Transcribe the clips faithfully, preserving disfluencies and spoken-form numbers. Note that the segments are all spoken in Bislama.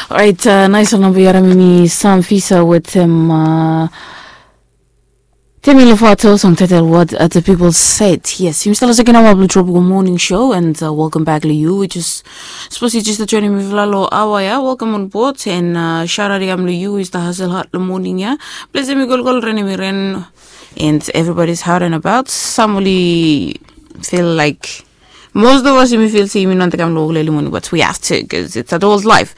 Orait, nais ol namba yu harim, hemi Sam Fisa wetem Demi Lovato, song title What Other People Said. Yes, yumi stap long sekon aoa blong Tropical Morning Show, and welcome back long yu we jes, sapos yu jes stap joinim mifala long aoa ya, welcome on board. And shout out i kam long yu we yu stap hustle hard long moning ya. Ples hemi kolkol, ren hemi ren, and everybody's hard and about. Sam oli feel like most of us yumi feel se yumi no wantem kam long wok long early morning, but we have to, 'cause it's adult life.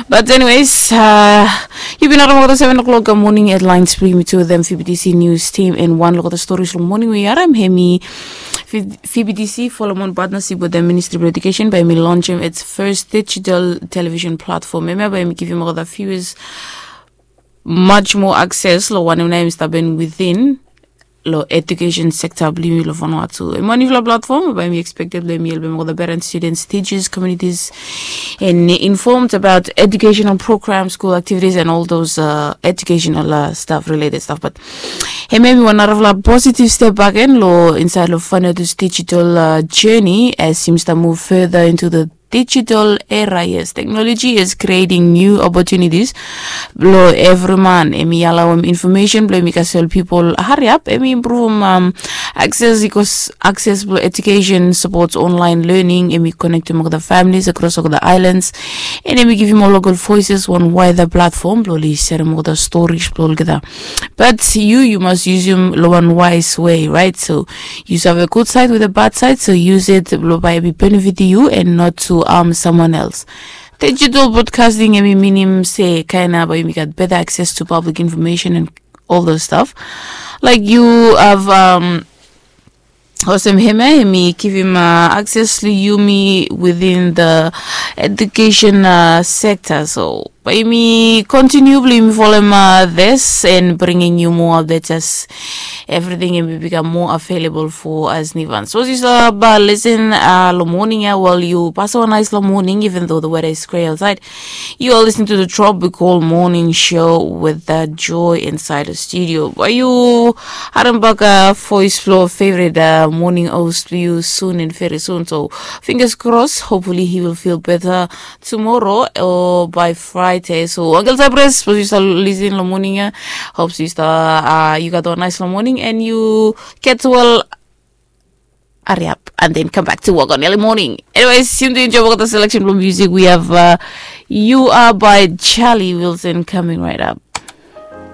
But anyways, yu bin harim olgeta seven o'clock moning headlines blong yumi tu wetem V B T C news team, and wan long olgeta stories long moning we yu harim, hemi V B T C folem wan partnership wetem Ministry of Education bae hemi launchem its first digital television platform. Hemia bae hemi givim olgeta viewers much more access long wanem nao hemi stap hapen within long education sector blong yumi long Vanuatu. Hemi wan niufala platform bae hemi expected blong hemi helpem olgeta parents, students, teachers, communities, and informed about educational programs, school activities, and all those educational stuff, related stuff. But hemia hemi wan narafala positive step bakegen long insaed long Vanuatu's digital journey as yumi stap move further into the digital era. Yes, technology is creating new opportunities blong evri man. Hemi alawem information blong hemi kasem ol pipol hariap. Hemi impruvem access, i go access blong education, supports online learning. Hemi konektem olgeta families across olgeta islands, and hemi givim ol local voices wan wider platform blong oli serem olgeta stories blong olgeta. But yu, yu mas yusum long wan wise way, right? So yu save gud side wetem bad side, so use it blong bae hemi benefit yu and not to harm someone else. Digital broadcasting hemi minim se kaen nao bae yumi gat better access to public information and all those stuff. Like yu have olsem hemia hemi givim access long yumi within the education sector. So bae yumi continue blong yumi folem this and bringing you more updates as everything hemi bikam more available for us Nivans. Sapos yu stap listen long moning ya, well, yu pasem wan nais long moning, even though the weather is gray outside. You are listening to the Tropical Morning Show with Joy inside the studio. Bae yu harem bak voes blong favorite morning host blong yu soon and very soon. So fingers crossed, hopefully he will feel better tomorrow or by Friday. So Uncle Cypress, sapos yu stap listen long moning ya, hope yu stap, yu gat wan nais long moning and yu get well. Hariap and then come back to work on early morning. Anyways, yumi tu enjoem olgeta selection blong music. We have You Are by Charlie Wilson coming right up.